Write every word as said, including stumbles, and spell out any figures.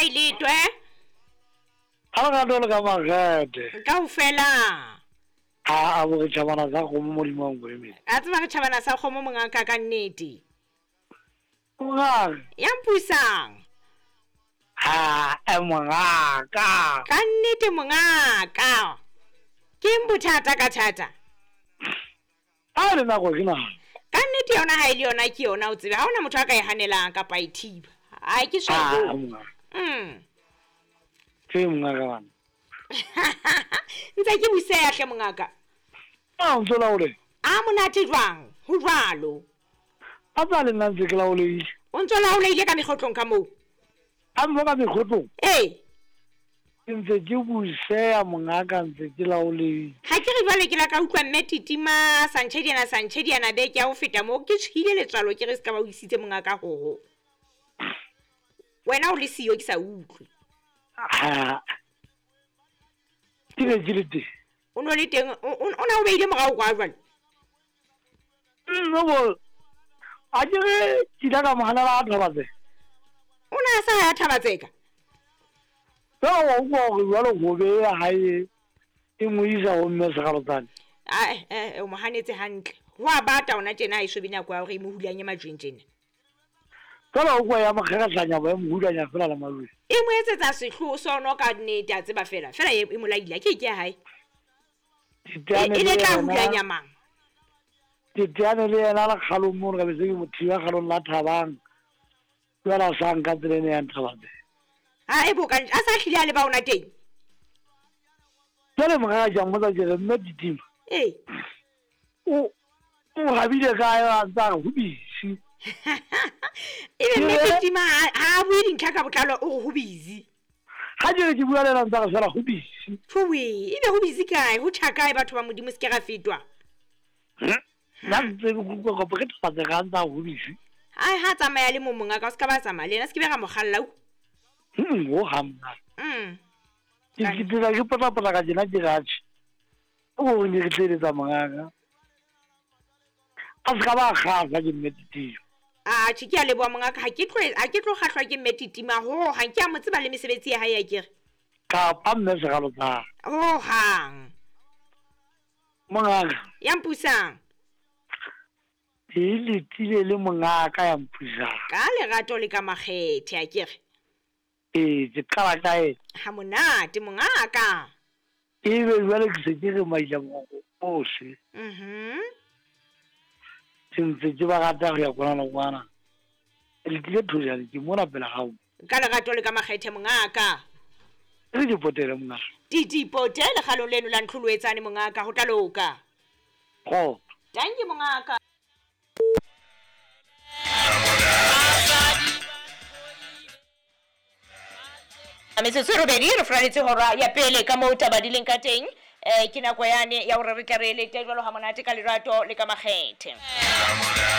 Ha e letwe. Ha lerato le ka makgethe. Kaofela. Ha a bo re tjhabana sa kgomo modimo wa nkoemedi. A tseba re tjhabana sa kgomo mongaka ka nnete. Mongaka. Ya mpusang. Ha e mongaka. Ka nnete mongaka. Ke eng bothata ka thata? Ha le nako ke nako. Ka nnete yona ha e le yona ke yona o tsebe. Ha hona motho a ka e hanelang kapa a e thiba. Ai ke Ha so. mongaka. Mm. Ke mongaka bana. Ntse ke buseya hle mongaka. A o ntso laole. A monate jwang? Ho jwalo. A tsa le nna ntse ke laolehile. O ntso laolehile ka mekgotlong ka moo. A mmo ka mekgotlong. Ee. Ke ntse ke buseya mongaka ntse ke laolehile. Ha ke re jwale ke la ka utlwa mme Titima Santjhediana Santjhediana beke ya ho feta moo ke tshwile letswalo ke re se ka ba o isitse mongaka hoho. Wena o le siyo ke sa utlwe. Ha. Ke ne ke le teng. O no le teng o o o na o beile morao kwa jwale. Nno bo. A ke re ke ile ka mo hanela a Thabatseka. O na a sa ya Thabatseka. Jwale wa utlwa hore jwale hobe ya hae e mo isa ho mme Sekgalotsane. Ai eh o mo hanetse hantle. Ho a bata ona tjena ha eso be nako ya hore e mo hulanye majweng tjena. Jwale o utlwa ya mo kgerehlanya ba e mo hulanya fela le majweng. E mo etsetsa sehloho sono ka nnete a tseba fela. Fela e e mo laile ke ke ya hae. E Teteane e le ne tla yena. hulanya mang? Teteane le yena le kgalong mono ka be se ke mo thiba kgalong la Thabang. Jwale a sa nka tsela ena ya Thabatseka. Ha e boka a sa hlile a le ba ona teng. Jwale mongaka ke a mmotsa ke re mme Titima. Ee. O o habile kae a ntse a re ho busy. Ebe mme Ke re- Titima ha ha a bue dintlha ka botlalo o re ho busy. Ha ke re ke bua le yena a ntse a re fela ho busy. Tjowe, ebe ho busy kae? Ho tjha kae batho ba Modimo se ke ra fetwa? Nna ntse ke utlwa kopo ke Thabatseka a ntse a re ho busy. Ai ha tsamaya le mo mongaka o se ka ba tsamaya le yena se ke be ra mo kgalla. Hmm, ho hang mongaka. Mm. Ke ke tsela ke potlapotla ka tjena ke re atjhe. O bo ne re tleletsa mongaka. A se ka ba kgahla ke mme Titima. Atjhe ke a leboha mongaka ha ke tlo ha ke tlo kgahlwa ke mme Titima ho hang ke a mo tseba le mesebetsi ya hae ya kere. Kapa mme Sekgalotsane. Ho hang. Mongaka. Ya mpusang. Ke letile le mongaka ya mpusang. Ka lerato le ka makgethe a kere. Ee, ke qala ka ena. Ha monate mongaka. Ebe jwale ke se ke re maila mongoko ohle. Mhm. Ke ntse ke ba rata ho ya kwana le kwana. Letile thojane ke mona pela hao. Ka lerato le ka makgethe mongaka. Re di potele mongaka. Di di potele kgalong leno la ntlholoetsane mongaka ho tla loka. Kgotso. Dankie mongaka. Metsotso e robedi re furaletse hora ya pele ka moo taba di leng ka teng. Eh ke nako yane ya hore re tle re elete jwalo ha monate ka lerato le ka makgethe.